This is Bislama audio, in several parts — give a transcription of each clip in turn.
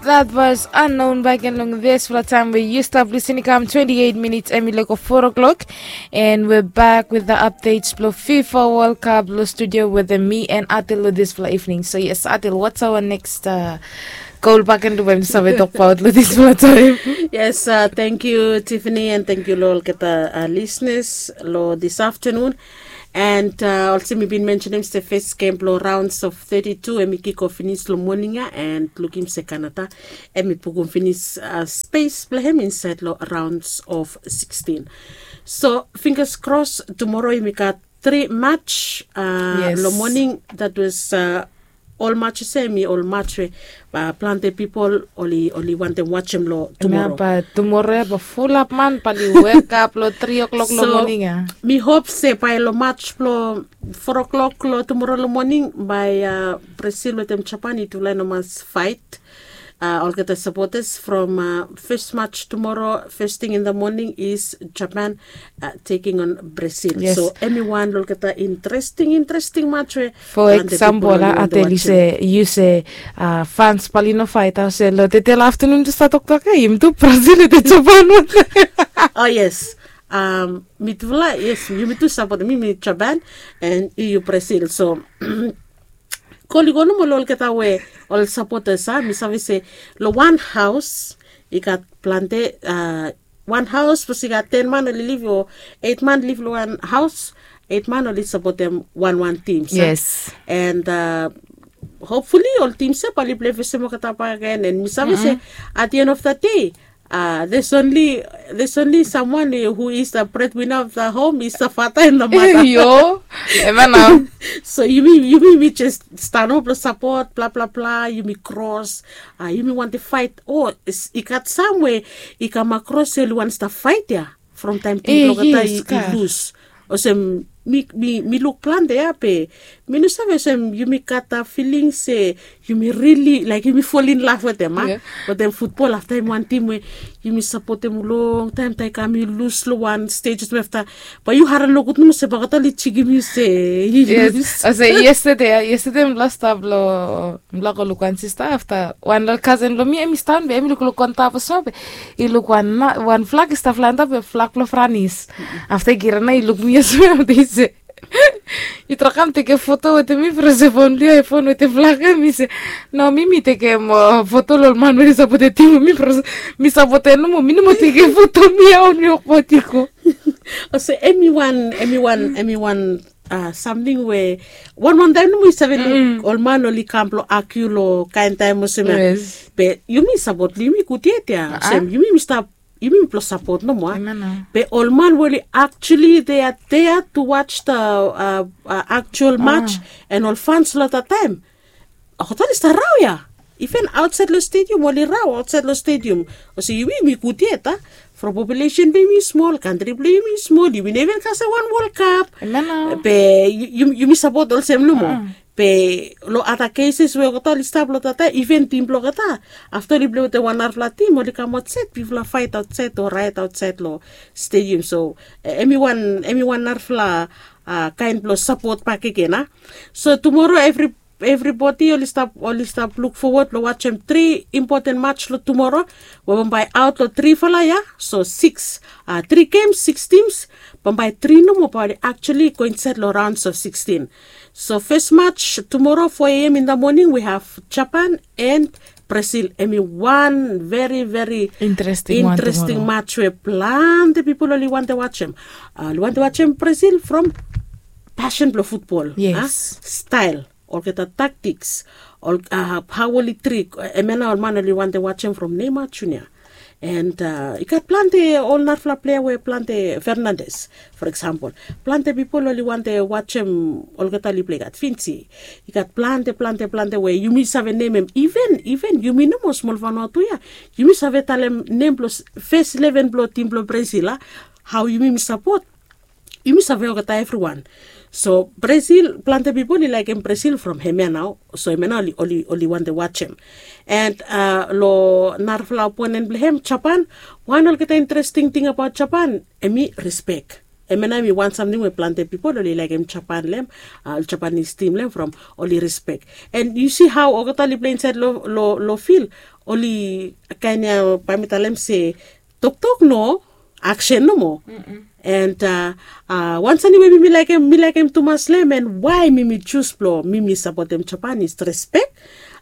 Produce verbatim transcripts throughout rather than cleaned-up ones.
That was Unknown back in long this for the time where you stop listening. Come twenty-eight minutes, Emily go four o'clock. And we're back with the updates blo FIFA World Cup blo studio with the me and Atil lo this for evening. So yes, Atil, what's our next uh, goal back in the way? So we talk about lo this for the time. Yes, uh, thank you, Tiffany, and thank you lo olgeta uh, listeners lo this afternoon. And uh, also mi bin mentionem se first game blo rounds of thirty-two, em i kick off finis lo morning ya, and lukim se Canada em i pukum finis uh, space blo hem inside lo rounds of sixteen. So fingers crossed, tomorrow yumi gat three match uh, Yes. Lo morning. That was uh, ol match se mi ol match we uh, plante pipol oli oli wantem watchem lo tomorrow. Ba tomorrow ya ba fulap man pali wekap lo three o'clock lo So, morning ya. Mi hop se bai lo match blo four o'clock lo tomorrow lo morning bai uh, Brazil wetem Japan i tufala i no mas fight. Uh, olgeta supporters from uh, first match tomorrow, first thing in the morning is Japan uh, taking on Brazil. Yes. So em i wan lo olgeta interesting interesting match we For example, a teli se yu se uh, fans pali no fight a se lo tetel afternoon tu sa toktok e yum tu Brazil te Japan. Oh yes. Um, mi tufala, yes, yumi tu support mi mi Japan and yu Brazil. So koli go nomo lo olgeta we ol supporters a mi save se lo wan house i gat plante uh, wan house bos i gat ten man oli liv o eight man liv lo wan house, eight man oli supportem wan wan team sa. Yes. And uh, hopefully ol team se pali play fesem olgeta bak again and mi save se at the end of the day uh, there's only there's only someone who is the breadwinner of the home is the father and the mother. Yo, emana. So yumi yumi mi just stand up lo support bla bla bla, yumi cross uh, yumi want to fight. Oh, i gat somewhere i come across se oli want to fight ya from time Eh, to yes, kata i lose. Olsem mi mi mi luk plante ya pe mi no save olsem yumi gat a feeling se yumi really like yumi fall in love wetem a. Yeah. Wetem football afta yumi wan tim we yumi sapotem long taim taim i kam i lus long wan stage olsem afta. Ba yu harim nogut nomo se bakata li jikim yu se. Yes. Olsem yesterday yesterday mi last stap long mi lak go luk wan sista afta wan kasen blong mi em i stan be em i lukluk on top olsem be i luk wan flag i stap flaen top be flag blong franis. Afta i giran na i luk mi olsem be i se yu trakam tekem foto wetem mi from se fon blong yu ai fon wetem flag ya mi se no mi mi tekem foto long ol man we i sapotem tim blong mi from mi sapotem nomo mi nomo tekem foto mi ya on mi wokbaot i go. Olsem em i wan em i wan em i wan samting we wan wan taim nomo yu save luk ol man oli kam blong akiu long kain taim olsem ya. Be yumi sapot long yumi gud yet ya olsem yumi mi stap yumi mi blong sapot nomo a. Be ol man we oli actually they are there to watch the actual match and ol fans long that taim. Olgeta oli stap rao ya. Even aotsaed long stadium oli rao aotsaed long stadium. Olsem yumi yumi gud yet a from population blong yumi smol kantri blong yumi smol yumi no even kasem wan World Cup. Be yumi sapot olsem nomo. Be long other cases we olgeta oli stap long tata even tim blong olgeta afta oli plei wetem wan narafala tim oli kam aotsaed bifala faet aotsaed o raet aotsaed long stadium so em i wan em i wan narafala kaen blong sapot bakegen a. So tumora evri evribodi oli stap oli stap luk fowod long wajem tri impoten mats long tumora we bambae aot long trifala ya. So siks tri gems siks tims bambae tri nomo bae oli aktuali go insaed long raons of sikstin. So fes mats tumora fo a m in da moning we have japan and brazil em i wan veri veri interesting mats we plante pipol oli wante wajem. Oli wante wajem brazil from pasen blong futbol. Stael olgeta taktiks hao oli trik em ya nao ol man oli wante wajem from neima junia. And i gat plante ol narafala plea we plante fernandes for eksampol plante pipol oli wante wajem olgeta oli plei gat finsi. I gat plante plante plante we yumi save nemem iven iven yumi nomo smol fanua tu ya yumi save talem nem blong fes leven blong tim blong brazil a. Hao yumi mi sapot yumi save olgeta evriwan. So brazil plante pipol i laekem brazil from hem ya nao. So hem ya nao oli wante wajem. And long narafala oponen blong hem japan wan olgeta interesting ting abaot japan em i respek. Em ya nao em i wan samting we plante pipol oli laekem Japan long em, ol Japanis tim long em from oli rispek. And yu si hao olgeta oli pilei insaed long fil, oli kaen ya, bae mi talem se toktok no, aksen nomo. And wan samting we mi laekem, mi laekem tumas long em, and wae mi mi jus blong mi mi sapotem Japan is respek.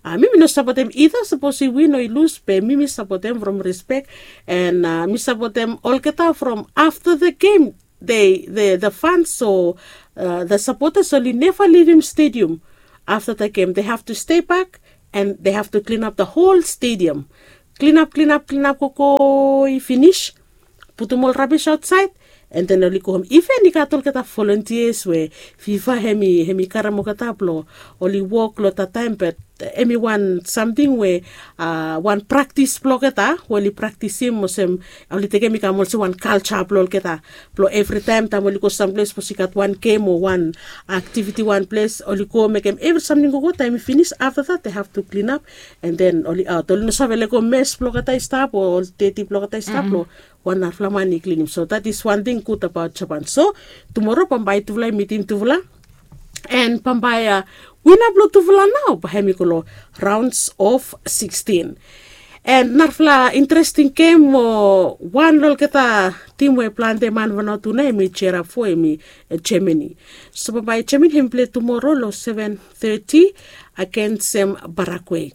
Mi mi no sapotem ida sapos i win o i lus, be mi mi sapotem from respek. And mi sapotem olgeta from afta the game, the fans o the sapotas oli neva livim stedium. Afta the game they have to stei bak, and they have to klinap the hol stedium. Klinap, klinap, klinap gogo i finis, putum ol rabis aotsaed, and then oli go hom. Iven i gat olgeta volontias we fifa hem i karem olgeta blong oli wok long tataem, bat hem i wan samting we wan praktis blong olgeta we oli praktisim olsem, oli tekem i kam olsem wan kalja blong olgeta, blong evritaem taem oli go samples, sapos i gat wan gem o wan aktiviti wan ples, oli go mekem evri samting gogo, taem i finis afta that they have to klinap, and then oli aot. Oli no save lego mes blong olgeta i stap o ol deti blong olgeta i stap long wan narafala man i klinim. So that is wan ting gud abaot Japan. So tumoro bambae tufala i mitim tufala, and bambae wina blong tufala nao bae hem i go long raons of sikstin. And narafala interesting gem o wan long olgeta tim we plante man vanatu nao hem i jerap fo, hem i Germany. So bambae Germany hem i pilei tumoro long seven thirty agensem Paraguay.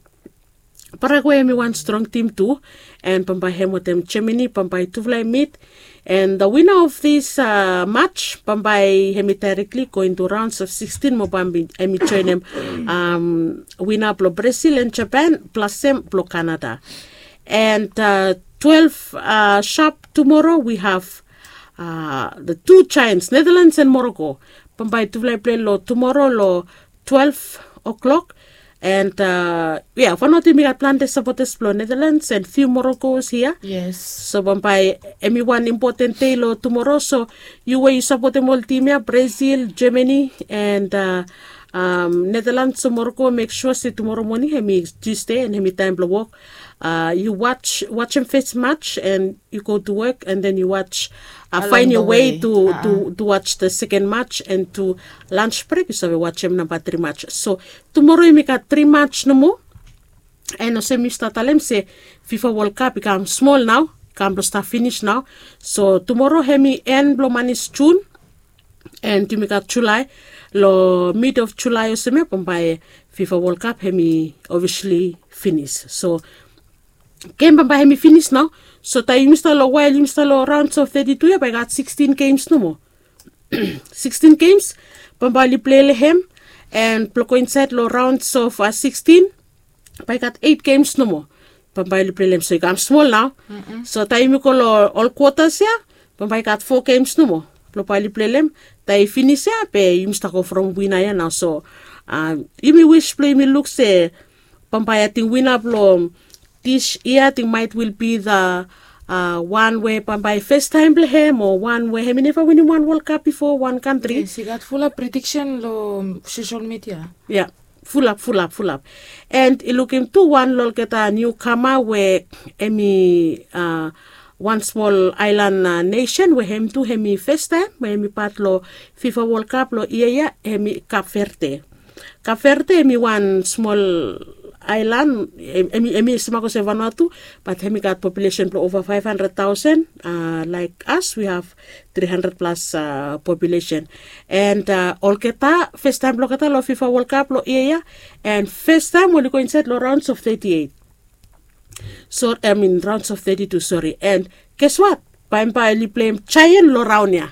Paraguay hem i wan strong tim tu, and bambae hem wetem Germany bambae tufala i mit. And the winner of this match bambae hem i directly go into rounds of sikstin, mo bambae hem i joenem winner blong Brazil and Japan plasem blong Canada. And twelve sharp tumoro we have the two giants, Netherlands and Morocco. Bambae tufala i pilei long tumoro long twelve o'clock. And ya, Vanuatu yumi gat plante sapotas blong Netherlands and few Moroccos hia. So bambae hem i wan impoten dei long tumoro. So yu we yu sapotem ol tim ya, Brazil, Germany and Netherlands o Morocco, mek sua se tumoro moning hem i Tuesday and hem i taem blong wok, yu wajem fes match and yu go tu wok, and then yu wajem, faen yo wei tu wajem the seken match, and tu lans brek yu save wajem namba tri match. So tumoro yumi gat tri match nomo. And olsem mi stap talem se fifa wol kap i kam smol nao, i kam blong stap finis nao. So tumoro hem i en blong manis Jun, and yumi gat Julae. Long mid of Julae olsem ya bambae fifa wol kap hem i ofisali finis. So gem bambae hem i finis nao. So taem yumi stap long wael yumi stap long raons of teti tu ya bae i gat sikstin gems nomo. Sikstin gems bambae oli pilei long hem. And blong go insaed long raons of sikstin bae i gat eit gems nomo bambae oli pilei long hem. So i kam smol nao. So taem yumi go long ol kwotas ya bambae i gat fo gems nomo blong bae oli pilei long hem. Taem i finis ya be yumi stap go from wina ya nao. So yumi wis blong yumi luk se bambae ating wina blong dis yia ating maet will be the wan we bambae festaem blong hem o wan we hem i neva winim wan wol kap bifo wan kantri. Yes, i gat fulap prediksen long sosel midia. Ya, fulap, fulap, fulap. And i lukim tu wan long olgeta niukama we hem i wan smol aelan nesen we hem tu hem i festaem we hem i pat long fifa wol kap long yia ya, hem i Kap Verde. Kap Verde hem i wan smol aelan, hem i smak olsem Vanuatu, bat hem i gat populesen blong ova faef handred taosen. Laek as we have tri handred plas populesen. And olgeta festaem blong olgeta long fifa wol kap long yia ya, and festaem oli go insaed long raons of teti eit. So I mean rounds of thirty-two, sorry. And guess what? Bambae oli pleim Jaen long raon ya.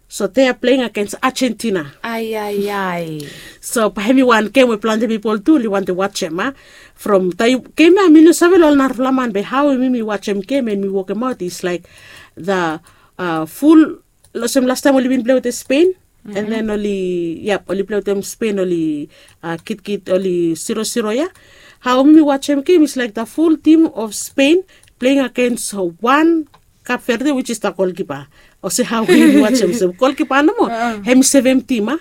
So they are playing against Argentina. Aiaiai. So bae hem i wan gem we plante pipol tu oli wantem wajem a. From taem gem ya mi no save long ol narafala man, be hao mi mi wajem gem and mi wokemaot is laek the ful, olsem lastaem oli bin plei wetem Spain, and then oli, yap, oli plei wetem Spain, oli kitkit, oli siro siro ya. Hao mi mi wajem gem is laek the ful tim of Spain playing against wan Kap Verde, which is the golkipa. Olsem hao mi mi wajem olsem golkipa nomo hem i sevem tim a.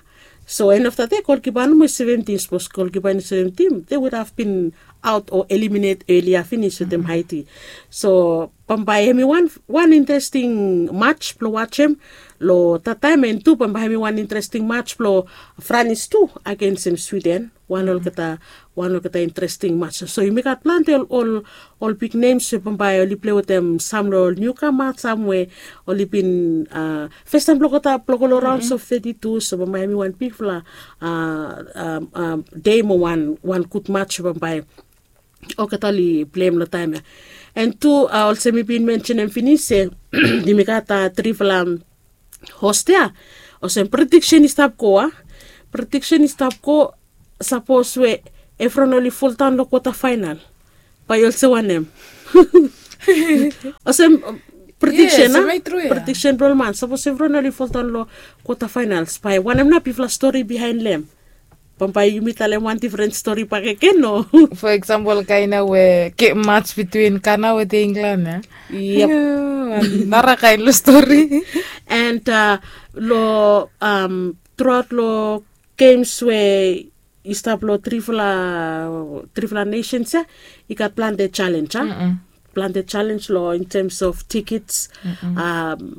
So en of the dei golkipa nomo i sevem tim, sapos golkipa i no sevem tim they would have been aot o eliminet elia finis wetem Haiti. So bambae hem i wan interesting mats blong wajem Lo tataem en tu bambae hem i wan interesting mats blo Franis tu agensem Swiden. Wan olgeta wan olgeta interesting mats. So yumi gat plante ol ol bik nems we bambae oli plei wetem sam lo ol niukama sam we oli bin festaem blogeta blogo lo raons of thirty two. So bambae hem i wan bigfala dei mo wan wan gud mats we bambae olgeta oli pleim lo taem ya. En tu olsem mi bin mensenem finis se yumi gat trifala hos ya. Olsem prediksen i stap go a prediksen i stap go. Sapos we evron oli foldaon lo kwota fainal, bae i olsem wanem? Olsem prediksen a prediksen blong ol man, sapos evron oli foldaon lo kwota fainals, bae wanem nao bigfala stori bihaen long hem? Bambae yumi talem wan difren stori bakegen o? Fo eksampol kaen nao we gem mats bitwin Gana wetem Inglan ya. Nara kaen long stori. And lo truaot long gems we i stap long trifala trifala nesens ya, i gat plante selens a. Plante selens long in tems of tikits.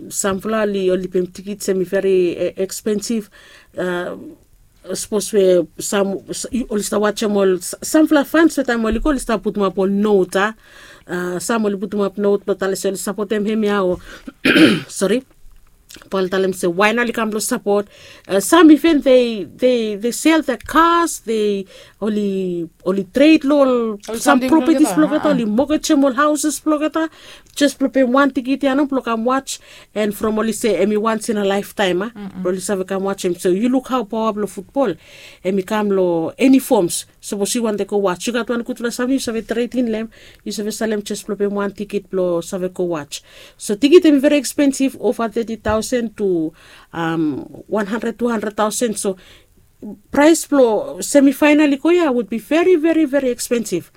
Samfala oli oli pem tikits em i veri ekspensiv. Sapos we sam oli stap wajem ol samfala fans we taem oli go oli stap putumap ol not a. Sam oli putumap not blong talem se oli sapotem hem ya o sori. Bae oli talem se wae nao oli kam blong sapot. Sam iven they they they sel the cars, they oli oli tred long ol sam propetis blong olgeta, oli mogejem ol hauses blong olgeta jes blong pem wan tikit ya nao blong kam waj. And from oli se em i wans in a laeftaem a blong oli save kam wajem. So yu luk hao paoa blong futbol em i kam long eni foms. Sapos yu wantem go waj yu gat wan gudfala samting yu save tretin long hem. Yu save salem jes blong pem wan tikit blong save go waj. So tikit em i veri ekspensiv ova thirty thousand to one hundred two hundred thousand. So praes blong semifainal i go ya would be veri veri veri ekspensiv.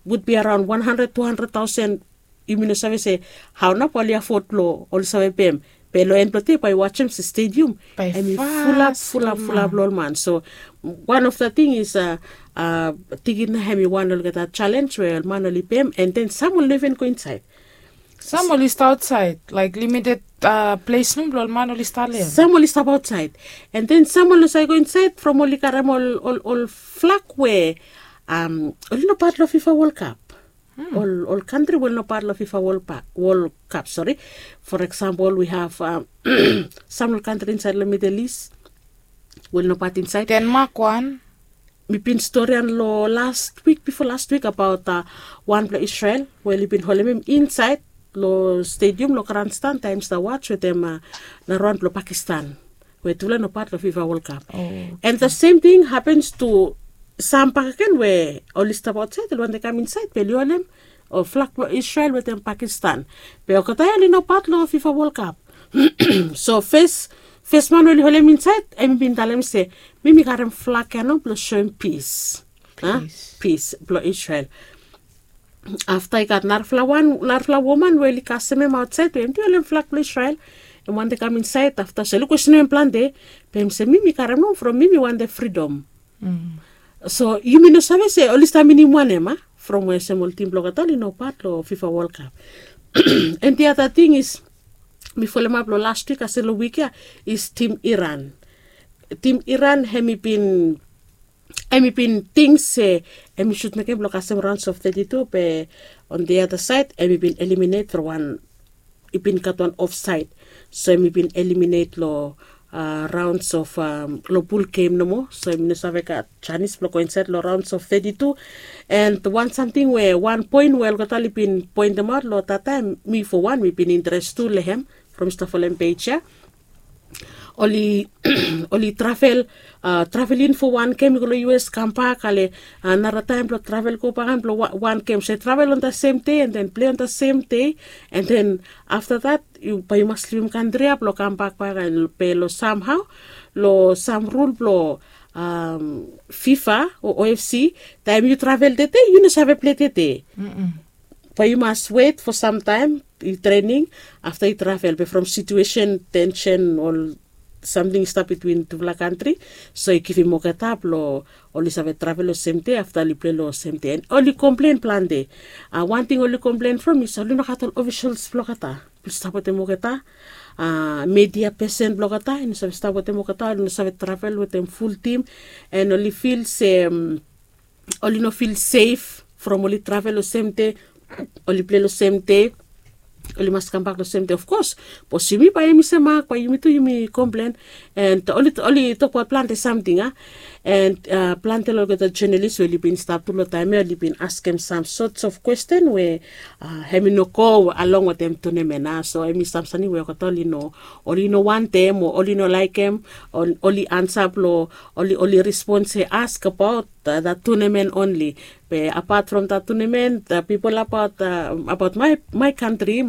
Would be araon one hundred two hundred thousand. Yumi no save se hao nao bae oli afod blong oli save pem. Be long en blong dei bae yu wajem se stedium em i fulap fulap fulap long ol man. So wan of the ting is a tikit nao em i wan olgeta selens we ol man oli pem. And then sam oli no iven go insaed. Sam oli stap aotsaed laek limited ples num blong ol man oli stap long hem. Sam oli stap aotsaed. And then sam oli no save go insaed from oli karem ol ol flak we oli no pat long fifa wol kap. Ol ol kantri we oli no pat long fifa wol kap sori. For eksampol we have sam ol kantri insaed long midel is we oli no pat insaed. Denmak wan. Mi bin storian long last wik bifo last wik abaot wanpela Israel we oli bin holim hem insaed long stedium long granstan taem i stap waj wetem narawan blong Pakistan. We tufala no pat long fifa wol kap. And the sem ting hapens tu sam bakegen we oli stap aotsaed oli wantem kam insaed be oli holim ol flak blong Israel wetem Pakistan. Be olgeta ya oli no pat long fifa wol kap. So fes fes man we oli holim insaed em i bin talem se mi mi karem flak ya nao blong soem pis. Pis blong Israel. Afta i gat narafala wan narafala woman we oli kasem hem aotsaed we hem tu i holim flak blong Israel. Hem wantem kam insaed afta so oli kwestenem hem plante. Be hem se mi mi karem nao from mi mi wantem fridom. So yumi no save se oli stap minim wanem a from we olsem ol tim blong olgeta oli no pat long fifa wol kap. And the other ting is mi folemap long last wik ase long wik ya is tim Iran. Tim Iran hem i bin em i bin ting se em i sut mekem blong kasem rauns of thirty two be on the other saed em i bin eliminate from wan i bin gat wan ofsaed. So em i bin eliminate long rauns of long bul gem nomo so em i no save gat janis blong go insaed long rauns of thirty two. And wan samting we wan poen we olgeta oli bin poentemaot long tataem mi fo wan mi bin interes tu long hem from i stap folem pej ya. Oli oli travel travel in fo wan gem i go long us kambak ale nara taem blong travel go bagan blong wan gem se travel on the sem dei and then plei on the sem dei. And then afta that bae yu mas livim kantri ya blong kambak bagan pe long samhao long sam rul blong fifa o ofc. Taem yu travel tede yu no save plei tede. Bae yu mas wet fo samtaem i trening afta i travel be from situesen tensen ol samting i stap bitwin tufala kantri. So i givim olgeta blong oli save travel long sem dei afta oli plei long sem dei and oli komplen plante. Wan ting oli komplen from is oli no gat ol ofisels blong olgeta. Stap wetem olgeta. Media pesen blong olgeta i no save stap wetem olgeta, oli no save travel wetem ful tim. And oli fil se oli no fil sef from oli travel long sem de, oli pilai long sem de, oli mas kambak long sem de. Of kos, bos yumi bae yumi se mak bae yumi tu yumi komplen. And oli tokbaot plante samting a. And plante long olgeta jenalis we oli bin stap tu long taem ya oli bin askem sam sots of kwesten we hem i no go along wetem tunemen a. So hem i sam samting we olgeta oli no, oli no wantem o oli no laekem. Oli ansa blong oli oli respon se ask abaot dat tunemen onli. Be apat from dat tunemen, pipol abaot abaot mai mai kantri.